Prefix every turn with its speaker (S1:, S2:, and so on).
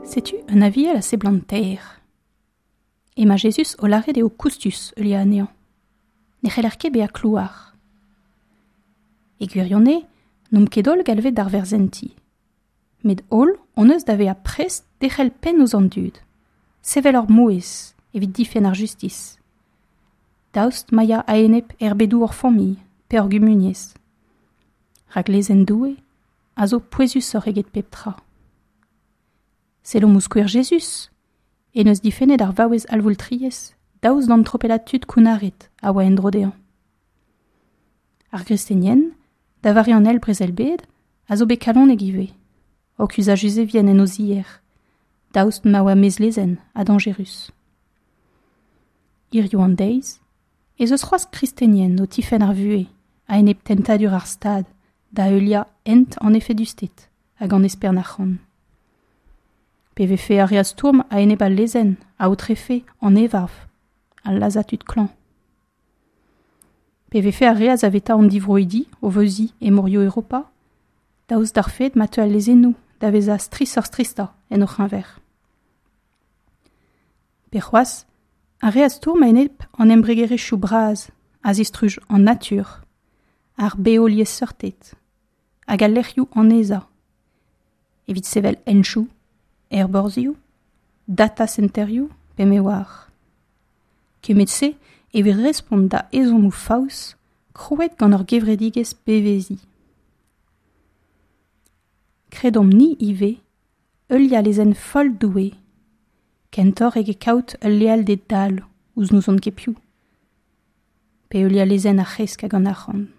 S1: Setu un aviel a seblant taer. Emañ Jezuz o lâret eo koustus heuliañ anezhañ. Ne c'heller ket bezañ klouar. E gwirionez, n'omp ket holl galvet d'ar verzhenti. Met holl hon eus da vezañ prest derc'hel penn ouzh an dud, sevel hor mouezh evit difenn ar justis. Daoust ma ya a-enep erbedoù hor familh pe hor gumuniezh. Rak lezenn Doue a zo pouezusoc'h eget pep tra. Sellomp ouzh skouer Jezuz, en deus difennet ar vaouez alvoultriez daoust d'an tropellad tud kounnaret a oa en-dro dezhañ. Ar gristenien, da vare an eil brezel-bed, a zo bet kalonek ivez, o kuzhañ Juzevien en o zier, daoust ma oa mezlezenn ha dañjerus. Hiziv an deiz ez eus c'hoazh kristenien o tifenn ar vuhez a-enep tentadur ar Stad da heuliañ hent an efedusted hag an espern arc'hant. Pe vefe ar re a stourm a-enep al lezenn a aotrefe an evarv, al lazhañ tud klañv. Pe vefe ar re a saveta an divroidi o veuziñ e morioù Europa, daoust d'ar fed ma teu al lezennoù da vezañ strishoc'h-stristañ en o c'heñver. Pe c'hoazh, ar re a stourm a-enep an embregerezhioù bras a zistruj an natur, ar beoliesseurted hag al lec'hioù annezañ evit sevel henchoù, aerborzhioù, data centerioù pe me oar. Kement-se evit respont da ezhommoù faos krouet gant ur gevredigezh beveziñ. Kredomp-ni ivez heuliañ lezenn foll Doue, kentoc'h eget kaout ul lealded dall ouzh n'ouzon ket piv, pe heuliañ lezenn ar c'hresk hag an arc'hant.